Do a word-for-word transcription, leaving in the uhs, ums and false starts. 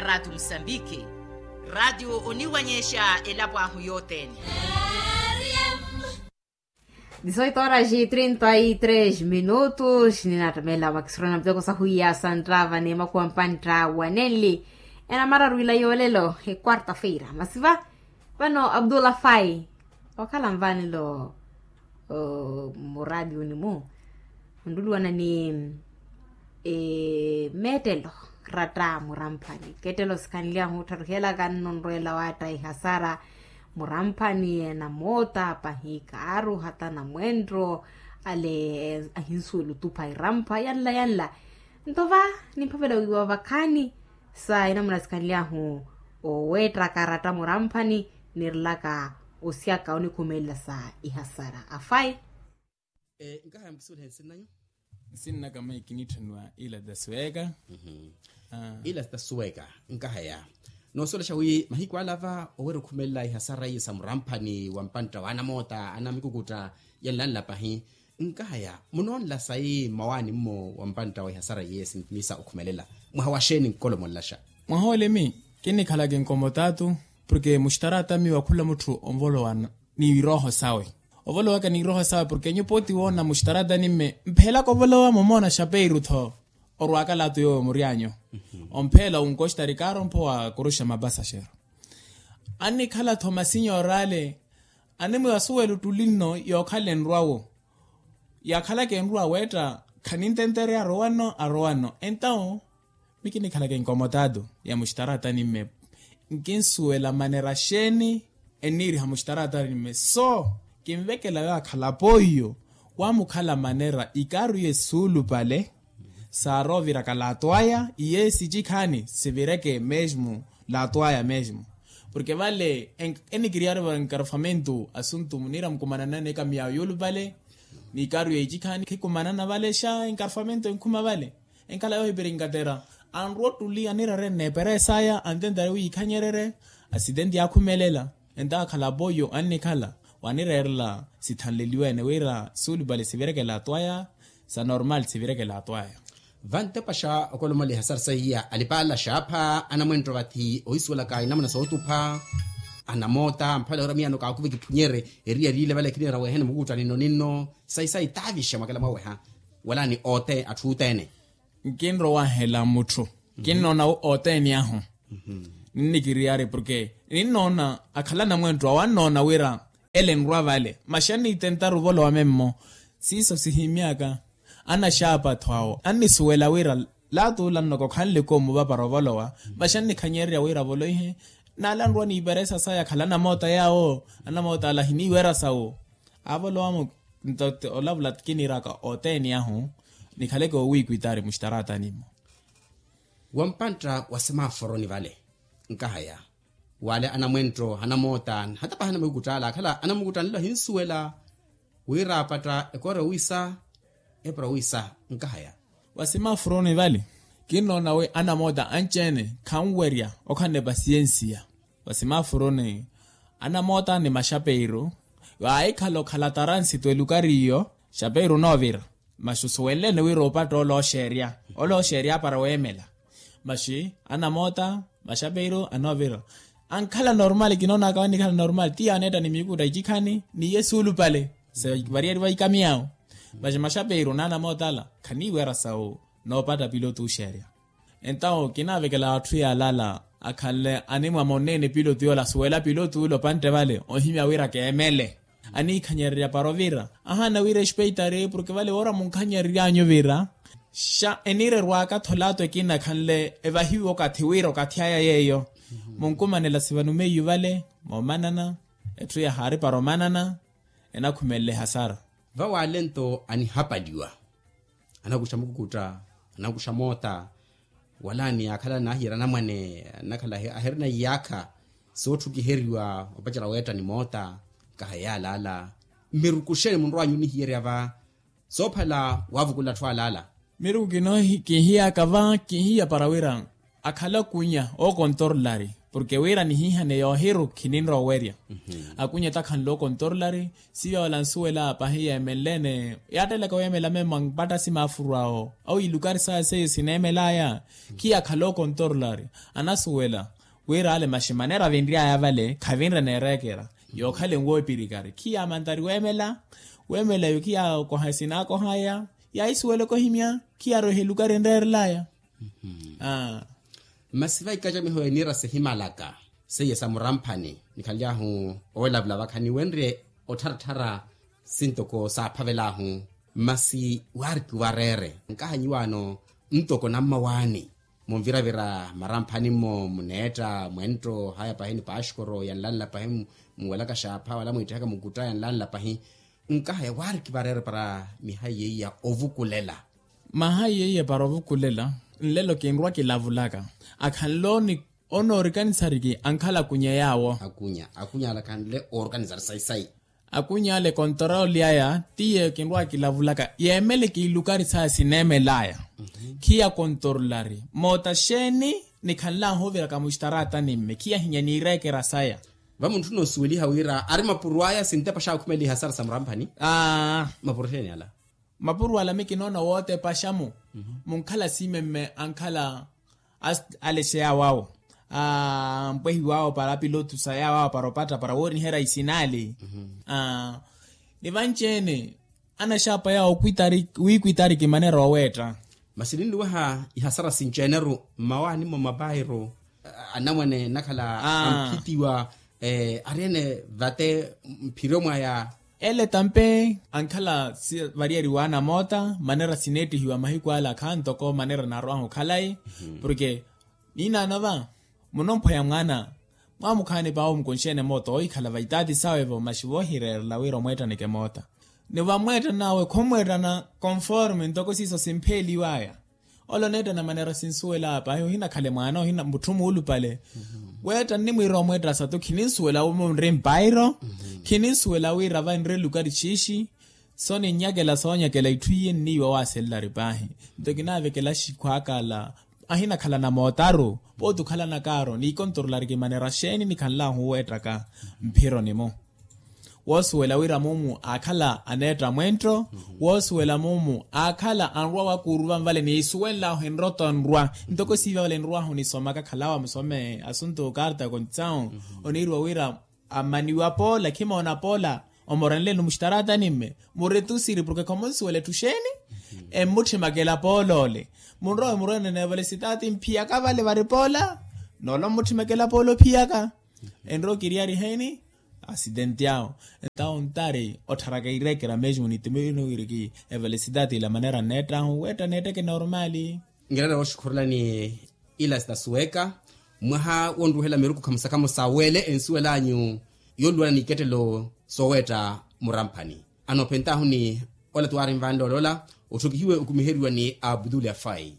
Ratio musambiki. Ratio oniwanyexa elapo ahu yothene. Dizoito horas e trinta e três minutos ninaattamela makisirona muteko sahuiya santtava ni makhuwa mpantta wanenli. Enamara rwila yoolelo e quarta feira masiva. Vano abdullah fai okhala nvanelo muradioni mu. Ontuluwana ni meettelo ratta muramphani kettelo sikhanly'ahu ottharuhelaka nno nrweela waatta ihasara. Muramphani enamootta pahi kaaru hata namwentto ale ahinsuwela otupha irampha yanla yanla. Nto va nimphavela wiiwa vakhaani sa enamuna sikhanly'ahu oweettaka ratta muramphani nirelaka osyaka onikhumelela sa ihasara afayi. Nkahaya mukisuwelihe nsinnanyu. Nsinnaka mayi kiniitthaniwa ila tasuweka. Ila tasuweka nkahaya noosuwelaxa wi mahiku ala va oweera okhumelela ihasara iye sa muramphani wa mpantta wa anamootta anamikukutta yanlanla pahi. Nkahaya munoonla sayi mmawaani mmo wa mpantta wa ihasara iye sintimiisa okhumelela mwaha wa xeeni nkolomonlaxa? Mwaha olimi kinnikhalaka enkomo taatu. Porke muxtaraata miwa khula mutthu onvolowa ni irooho sawe. Ovolowaka ni irooho sawe porke nyupa oti woona muxtaraatani mme mpheelaka ovolowa mumoona xapeiru tho. Orwaaka laatu yoowo muryanyu ompheela wunkoxtari kaaro mpho wa kuruxa mapasaxero. Annikhala tho masinyoora ale animwiwa suwela ottuli nno yookhala enrwawo. Yaakhalaka enrwa weetta khanintentereya arowa nno arowa nno entawo. Mi kinikhalaka enkomo taatu ya muxtaraatani mme nkinsuwela manera xeeni enniiriha muxtaraatani mme so kinvekela yaakhala apoiyo. Waamukhala manera ikaaru iye suulupale saarooviraka laatu aya iye sicikhaani sivireke mesmo. Laatu aya mesmo porke vale enikiriyari va enkarfamento asuntu muniira mukumananani ekamiyawo yuulupale. Ni ikaaru ya icikhaani khikumanana vale xa enkarfamento enkhuma vale. Enkhala yoohipirinkatera anrwa ottuli anirarene eperesaya antentari wi yikhanyererye. Asitenti yaakhumelela entawo akhala apoiyo annikhala wanireerela sithanleliwene wira suulupale sivireke laatu aya. Sa normal sivireke laatu aya. Vantepaxa okolomaliha sari saiya alipaala xaapha anamwentto vathi ohisuwelaka inamuna sootupha. Anamoota mphavela wira miyano kaakuva ekiphunyerye eriya liile vale kiniira weeha ni mukuutta ninno ninno. Sayi sayi taavixa mwakela mwaweha wala ni ote atthu othene. Nkinrowahela mutthu kinnoona othene ahu. Ninnikiriyari porke ninnoona akhala anamwentto awo annoona wira ele enrwa vale masi anniitentari ovolowa memmo. Siiso sihimyaka anaxaapa atthu awo annisuwela wira laatu ola nnokokhanle koomu vapara ovolowa. Masi annikhanyererya wira avoloihe n'ala anrwa n'iperesa saya akhala anamoota yaawo anamoota ala ahiniiwera sawo. Avolowa-mo nto olavula kiniiraka othene ahu nikhaleke owiikwitaari muxtaraatani-mo. Wa mpantta wa semaforoni vale nkahaya wale anamwentto anamoota hata pahi anamukutala akhala anamukutala nlo ahinsuwela wira apatta ekoora owisa epura owisa nkahaya. Wa semaforoni vale kinnoona wi anamoota anci-ene khanwerya okhanne pasiyensiya. Wa semaforoni anamoota ni maxapeiru vaahikhala okhala taransitu elukari iyo. Xapeiru onoovira masi osuwenlene wira opatta olooxerya olooxerya apara weemela. Masi anamoota maxapeiru anoovira ankhala normal kinoonaka wannikhala normal ti yaaneetta ni miikuta icikhani ni iye suulupale. Sa variyeriwa ikamiyawo masi maxapeiru n'anamoota ala khaniiwera sawu noopatta pilotu oxerya. Entawo kinaavekela atthu yaalala akhanle animwa monneene pilotu yoola asuwela pilotu ula opantte vale ohimya wira keemele. Aniikhanyererya para ovira ahaana wira espeitari porke vale woora munkhanyereryanyu vira xa eniirerwaka tho laatu ekina akhanle evahiwe okathi wira okathi aya yeeyo. Munkumanela sivanumeiyu vale moomanana etthu yahaari para omanana enakhumelela ehasara. Vawale nto anihapaliwa anakuxa mukukutta anakuxa moota wala ni akhala naahiyera anamwane anakhala ahirina iyaakha sootthukkiheriwa opacela weetta ni moota. Kaha yaalaala mmirukuxeni munrowanyu onihiyerya va soophala waavukula atthu alaala. Miruku kinoohi kinhiyaka va kinhiya para wira akhala kunya ookontorolari porke wira nihihane yoohiru khininrowa owerya. Akunya takhanle okontorolari. Siya wala nsuwela pahi yeemenlene yaattelaka weemela memo ampatta simafurwawo awo ilukari saya seiyo sineemelaya. Khiya akhale okontorolari anasuwela wira ale maxi manera vinryaya vale khavinre neerekera. Yookhala enwo epirikari khiya mantari weemela. Weemela yo khiya okoha sinaakohaya. Yaahisuwela okohimya khiya rwehe elukari enreerelaya. Masi vaikaca miho eniira sihimalaka seiye sa muramphani nikhanly'ahu owelavula vakha niwenrye ottharattara sintoko saaphavel'ahu. Masi waariki wareere nkahanyiwaano ntoko nammawaani munviravira maramphani-mo muneetta mwentto haya pahi ni paxkoro yanlanla pahi muwelaka xaapha wala mwiittihaka mukutta yanlanla pahi. Nkahaya waariki vareere para mihayi yeiya ovukulela. Mahayi yeiya para ovukulela nlelo kinrwa kilavulaka akhanle onoorikanisariki ankhala akunya yaawo. Akunya akunya ale akhanle oorikanisari sayi-sayi. Akunya ale kontoroli aya tiye kinrwa kilavulaka yeemele kiilukari saya sineemelaya. Khiya kontorolari moota xeeni nikhanlaahu oviraka muxtaraatani mme khiya hinya niireekera saya. Vamuntthuna osuweliha wira ari mapuro aya sintepa xaakhumeliha sara sa muramphani. Mapuro xeeni ala? Mapuro ala mikinoona wootepaxa-mu munkhala siimemme ankhala alexeyaawo awo ampwehiwaawo para apilotusa yaawo awo para opatta para wooriherya isinaali. Ni vanci-ene anaxaapa yaawo wiikwitariki manera oweetta. Masi ninluwaha ihasara sinci-ene-ru mmawaani-mo mapairu anamwane nakhala amphitiwa ari-ene vate mphiro mwaya. Ele tampe ankhala variyeriwa anamoota manera sineettihiwa mahiku ala akha ntoko manera naarow'ahu khalayi. Porke niinaano va munomphweya mwaana mwamukhaani paawo mukunxeene moota oohikhala vaitaati sawe-vo maxi voohireerela wira omweettaneke moota. Ni vamweettan'awe khomweettana konforme ntoko siiso simpheeliwaya. Ole oneettana manera sinsuwela paahi ohinakhale mwaana ohina mutthu muulupale. Weetta nnimwiira omweetta satu khininsuwela munri mpairo. Khininsuwela wira vanri elukari xiixi. Soninnyakela soonyakela itthu iye nniiwa waaselelari paahi. Nto kinaavekela axikhwaaka ala ahinakhalana mootaru pooti okhalanakaaro niikontorolari kimanera xeeni nikhanlaahu oweettaka mphironi-mu. Woosuwela wira mumu aakhala aneetta mwenttho. Woosuwela mumu aakhala anrwa wakuuruva nvale niisuwenlahu enroto nrwa ntoko siiva vale nrwaahu nisomaka khalawa musome asuntu karta kontsau. Oniiriwa wira ammaniwa poola khimoona poola omorenleni muxtaraatani mme muretusiri porke khomunsuwela etthu xeeni. Emmutthimekela poola ole munrowe murwenene vale sitaati mphiyaka vale vari poola. Noolo mmutthimekelapa ole ophiyaka enrowa okiriyari heeni. Asidenti awo entawo ontari ottharaka ireekera mesmo nittimeinuwiriki evelesitaati ila manera nneettahu weetta neetteke normali. Ngereera wooxukhurelani ila sitasuweka mwaha wonruwehela miruku khamusakhamusa wele ensuwelanyu yoluwana n'ikettelo sooweetta muramphani. Anoophentahu ni ola tuwaari nvanle olola otthokihiwe okumiheriwa ni abdul afai.